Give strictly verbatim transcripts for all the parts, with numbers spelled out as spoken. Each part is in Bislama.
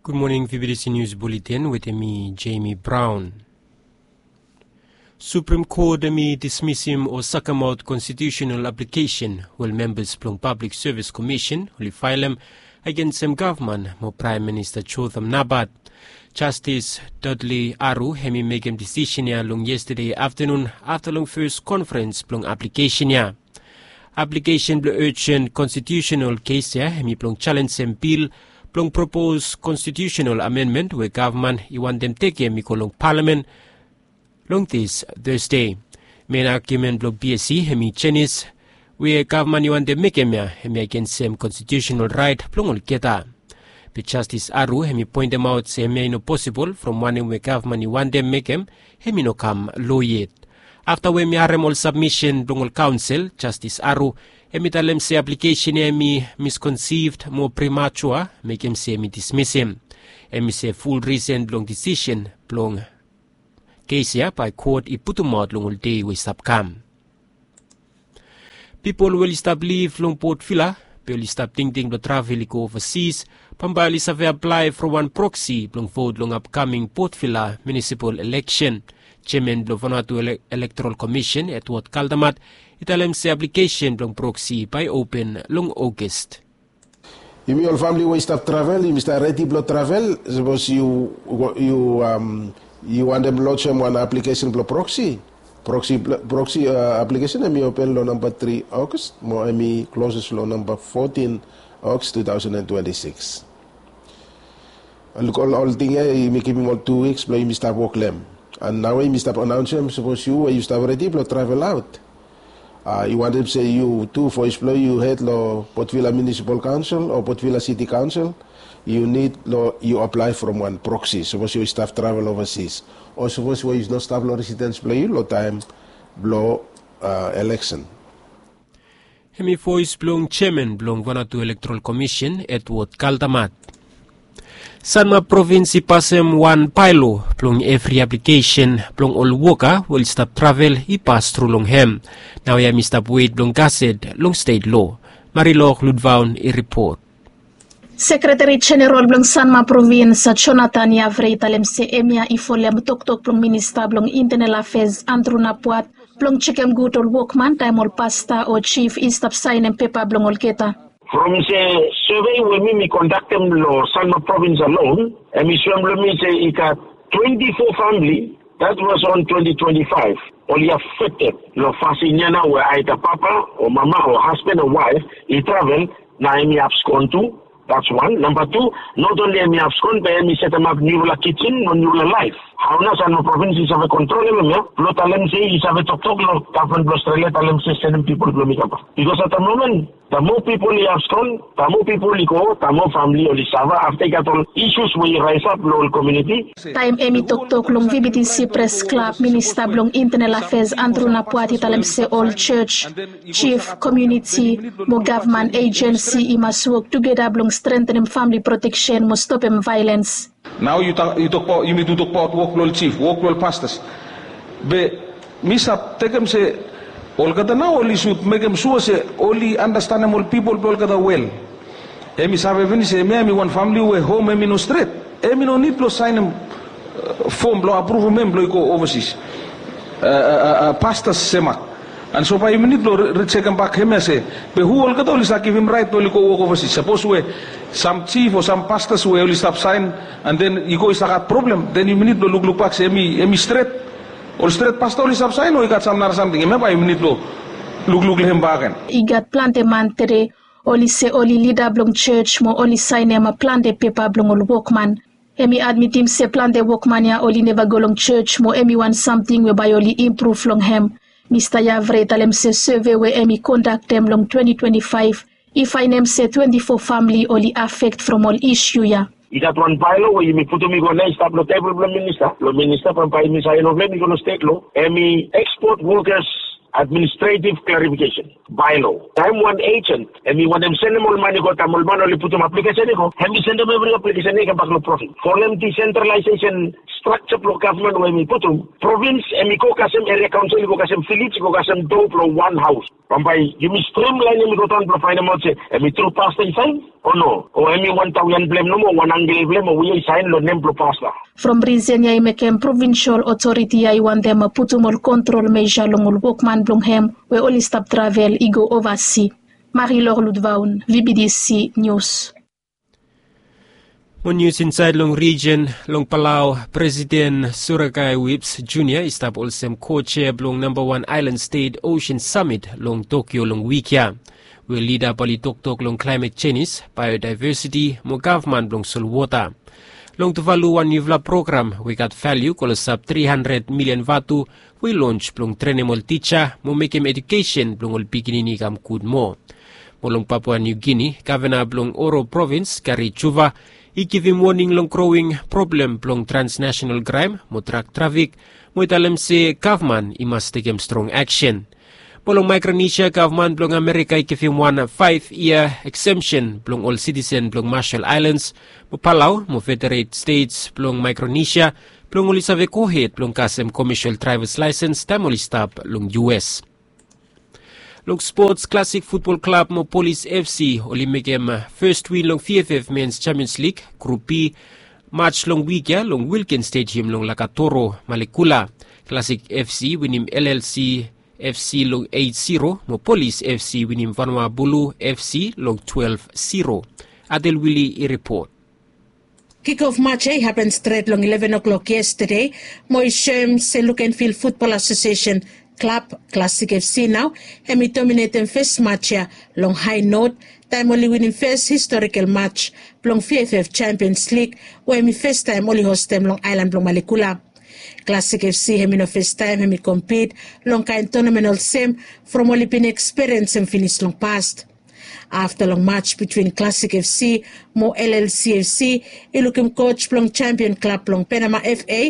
Gud moning, V B T C News Bulletin wetem mi, Jamie Brown. Supreme Court hemi dismisim o sakemaot konstitiusenal aplikesen we membas blong Pablik Sevis Komisen oli faelem agensem gavman mo Praem Minista Jotham Napat. Jastis Dudley Aru hemi mekem disisen ya long yestade aftanun afta long fes konferens blong aplikesen ya. Aplikesen blong urjen konstitiusenal kes ya hemi blong jalenjem bil blong propos konstitiusenal amenmen we gavman i wantem tekem i go long palamen long dis Thursday. Men agiumen blong B S C hemi jenis we gavman i wantem mekem ya hemi agensem konstitiusenal raet blong olgeta. Be Jastis Aru hemi poentemaot se hemia i no posibol from wanem we gavman i wantem mekem hemi no kam lo yet. Afta we hemi harem ol sabmisen blong ol kaonsel, Jastis Aru hemi talem se aplikesen ya hemi miskonsivd mo prematua, mekem se hemi dismisim. Hemi se ful risen blong disisen blong kes ya bae kot i putumaot long ol dei we i stap kam. Pipol we oli stap liv long Port Vila be oli stap tingting blong travel i go ovasis bambae oli save aplae from wan proksi blong vot long apkaming Port Vila munisipal eleksen. Jeaman blong Vanuatu Ele- Elektoral Komisen, Edward Kaldamat, i talem se aplikesen blong proksi bae open long Ogos. Yumi ol famili we i stap travel, yumi stap redi blong travel. Sapos yu yu am yu wantem lojim wan aplikesen blong proksi, proksi proksi aplikesen hemi open long namba tri Ogos mo hemi kloses long namba fotin Ogos tu taosen an twenti sikis. Ol ting ya yumi givim ol tu wiks blong yumi stap wok long hem. An naoia yumi stap anaonsem sapos yu we yu stap redi blong travel aot, a yu wantem se yu tu voes blong yu hed long Port Vila Munisipal Kaonsel o Port Vila Siti Kaonsel, yu nid long yu aplae from wan proksi sapos yu stap travel ovasis o sapos we yu no stap long residens blong yu long taem blong a eleksen. Hemi voes blong jeaman blong Vanuatu Elektoral Komisen, Edward Kaldamat. Sanma provins i pasem wan baelo blong evri aplikesen blong ol woka we oli stap travel i pas tru long hem. Naoia hemi stap wet blong gaset long stet lo. Marilok Ludvaon i ripot. Sekreteri Jeneral blong Sanma Provins, Jonathan Yavre, i talem se hemia i folem toktok blong Minista blong Intenal Afes, Andrew Napuat, blong jekem gud ol wokman taem ol pasta o jif i stap saenem pepa blong olgeta. From se sevei we mi mi kondaktem long Sanma Provins alon, hemi soem long mi se i gat twenti fo famili that was on twenty twenty-five oli afekted long fasin ya nao we aeda papa o mama o hasban o waef i travel, na hemi abskon tu. That's one. Namba tu, not only hemi abskon be hemi setemap niufala kijin mo niufala laef. Hao nao Sanma Provins i save kontrolem hemia blong talem se i save toktok long gavman blong Australia talem se sendem pipol blong mi kambak? Bikos at the moment, the more pipol i abskon, the more pipol i go, the more famili oli safa afta i gat ol isus we i raesap long ol komuniti. Taem hemi toktok long V B T C Pres Klab, Minista blong Intenal Afes Andrew Napuat i talem se ol jos, jif, komuniti mo gavman ejensi i mas wok tugeta blong strengtenem famili proteksen mo stopem vaelens. Nao yu tokbaot, yumi tu tokbaot wok blong ol jif, wok blong ol pastas. Be mi stap tekem se olgeta nao oli sud mekem sua se oli anastanem ol pipol blong olgeta wel. Hemi save finis se hemia hemi wan famili we hom hemi no stret, hemi no nid blong saenem fom blong apruvum hem blong i go ovasis pastas semak. An so bae yumi nid blong rijekem bak hemia se be hu olgeta oli save givim raet blong oli go wok ovasis? Sapos we sam jif o sam pastas we oli stap saen an den i go i save gat problem, den yumi nid blong lukluk bak se hemi stret, ol stret pasta oli stap saen o i gat sam nara samting, hemia bae yumi nid blong lukluk long hem bakegen. I gat plante man tede oli se oli lida blong jos mo oli saenem plante pepa blong ol wokman. Hemi admitim se plante wokman ya oli neva go long jos mo hemi wan samting we bae oli impruv long hem. Mista Yavre i talem se seve we hemi kondaktem long twenti twenti faef i faenem se twenti fo famili oli afekt from ol isu ya. I gat wan baelo we yumi putum i go nao i stap long tebol blong minista, blong minista bambae yumi saen long hem i go long stet lo. Hemi ekspot wokas administretiv klarifikesen baelo. Taem wan ejen hemi wantem sendem ol man i go, taem ol man oli putum aplikesen i go, hemi sendem evri aplikesen ya i kambak long provins. Folem disentralaesesen Strakja blong gavman we em i putum, provins em i go kasem eria kaonsel i go kasem vilej i go kasem do blong wan haos. Bambae yumi strimlaenem i go daon blong faenemaot se em i tru pasta i saen o no, o em i wan tawian blem nomo, wan angel blem o we i saen long nem blong pasta. From risen ya i mekem provinsol otoriti ya i wantem putum ol kontrol meja long ol wokman blong hem we oli stap travel i go ovasi. Marilor Ludvaun, V B D C News. Mo nius insaed long rijen long Palau, Presiden Surakai Whipps Junior i stap olsem co-chair blong namba wan aelan stet Ocean Summit long Tokyo long wik ya, we lida bae oli toktok long klaemet jenis, baeodivesiti mo gavman blong solwota. Long Tuvalu wan niufala program we i gat valiu klosap tri handred milian vatu we i lons blong trenem ol tija mo mekem edukesen blong ol pikinini i kam gud moa. Mo long Papua Niu Gini, gavana blong Oro provins, Gary Juva, i givim woning long growing problem blong transnasenal kraem mo drak trafik, mo i talem se gavman i mas tekem strong aksen. Mo long Maekronesia, gavman blong Amerika i givim wan faef yia eksemsen blong ol sitisen blong Marshall Islands, mo Palau mo Federated States blong Maekronesia, blong oli save gohed blong kasem komesel draevas laesens taem oli stap long U S. Long spots, Classic Futbol Klab mo Polis F C oli mekem fes win long V F F Men's Champions League Grup B match long wik ya long Wilkins Stadium long Lakatoro, Malekula. Classic F C winim L L C F C long eight zero, mo Polis F C winim Vanua Bulu F C long twelve zero. Adel Wili i ripot. Kikof match ya i hapen stret long eleven o'clock yestade, mo i soem se Lukenvil Futbol Asosiesen klab Classic F C nao hem i dominetem fes match ya long hae not, taem oli winim fes historikal match blong V F F Champions League, we hem i fes taem oli hostem long aelan blong Malekula. Classic F C hem i no fes taem hem i kompit long kaen tonamen olsem, from oli bin ekspiriensem finis long past. Afta long match bitwin Classic F C mo L L C F C, i lukim koj blong Champion Klab blong Penama F A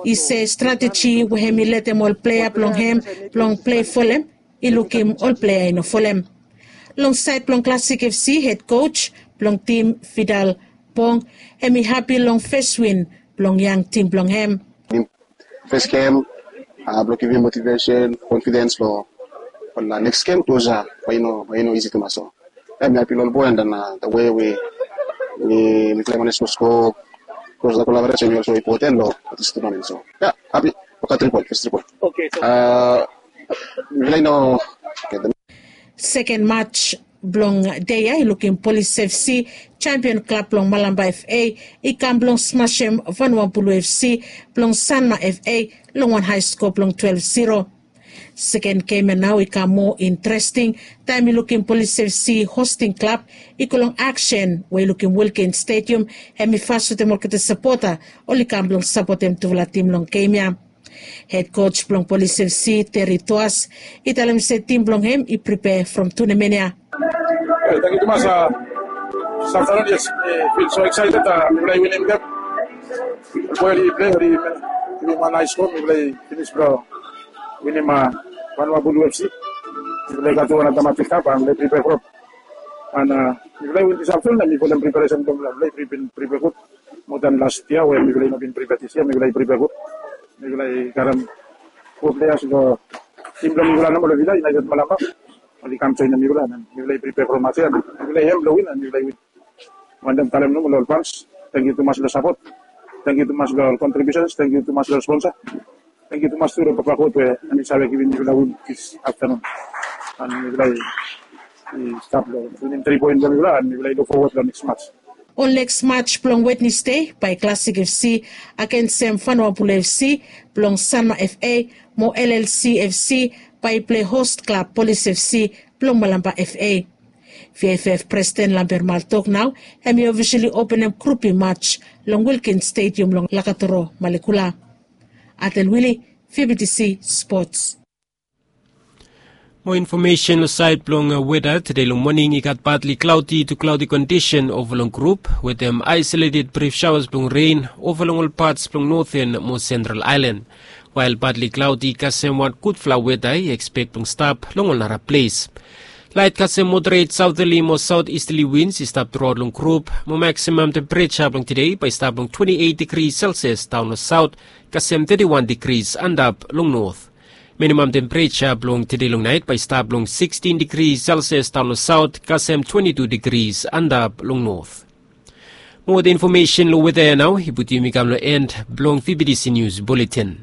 i se strateji we hem i letem ol plea blong hem blong plei folem, i lukim ol plea i no folem. Long saed blong Classic F C, hed koj blong tim, Fidal Pong, hem i hapi long fes win blong yang tim blong hem. Fes gem, blong givim motivesen, konfidens blong ol neks gem, klos ya bae i no, bae i no isi tumas. So ya mi hapi long ol boe, and then the way we, mi, mi klem on sko, sko, klos the collaboration i olso impoten long this tournament. So ya, hapi. Oke, tri poen, fes tri poen. Oke, so mi laik no. Seken match blong dei ya i lukim Polis F C, Champion Klab blong Malampa F A, i kam blong smasem Vanua Bulu F C blong Sanma F A long wan hae sko blong twelve zero. Seken gem ya nao i kam moa interesting taem i lukim Polis F C hosting klab i go long aksen we i lukim Wilkins Stadium hem i fas wetem olgeta sapota oli kam blong sapotem tufala tim long gem ya. Hed koj blong Polis F C, Terry Toas, i talem se tim blong hem i pripea from tonamen ya. Tangkiu tumas, a, Safsaran, yes, mi fil so excited, a, mifala i winim gem. Ol boe oli plei, oli givim wan naes go, mifala i finis blong winim, a, Vanua Bulu F C. Mifala i gat tu wan nara match i kam, a, mifala i pripea from. And, a, mifala i win this afternoon, and mifala i folem preparesen blong mifala, mifala i pripea, pripea gud. Moa dan las yia we mifala i no bin pripea, this yia mifala i pripea gud. Mifala i karem fo pleas long tim blong mifala nomo long vila, United Malampa. Oli kam joenem mifala, and mifala i pripea from match ya, and mifala i hem blong win, and mifala i win. Wantem talem nomo long ol fans, tangkiu tumas long sapot. Tangkiu tumas long ol kontribiusens, tangkiu tumas long ol sponsa. Tangkiu tumas tu long Papa God we hem i save givim mifala win this afternoon. And mifala i, i stap long winim tri poen blong mifala, and mifala i luk fowod long neks match. Ol neks match blong Wednesde bae Classic F C agensem Vanua Bulu F C blong Sanma F A mo L L C F C bae i plei host klab Polis F C blong Malampa F A. V F F Presiden Lamber Mal tok nao hem i ofisali openem Grup B match long Wilkins Stadium long Lakatoro, Malekula. Adel Wili, V B T C Sports. Moa infomesen long saed blong, a, weta. Tede long moning i gat badli klaodi tu klaodi kondisen ova long grup wetem aesoleted brif saoas blong ren ova long ol pats blong Noten mo Sentral Aelan. Wael badli klaodi i kasem wan gudfala weta i ekspek blong stap long ol nara ples. Lait kasem moderet saoterli mo saot istali wins i stap truaot long grup, mo maksimam tempereja blong tude bae i stap long twenti eit digri selsias daon long saot, kasem teti wan digri antap long not. Minimam tempereja blong tude long nait bae i stap long sikstin digri selsias daon long saot, kasem twenti tu digri antap long not. Mo weta infomesen long weta ya nao i putum yumi kam long en blong vibidisi nius buletin.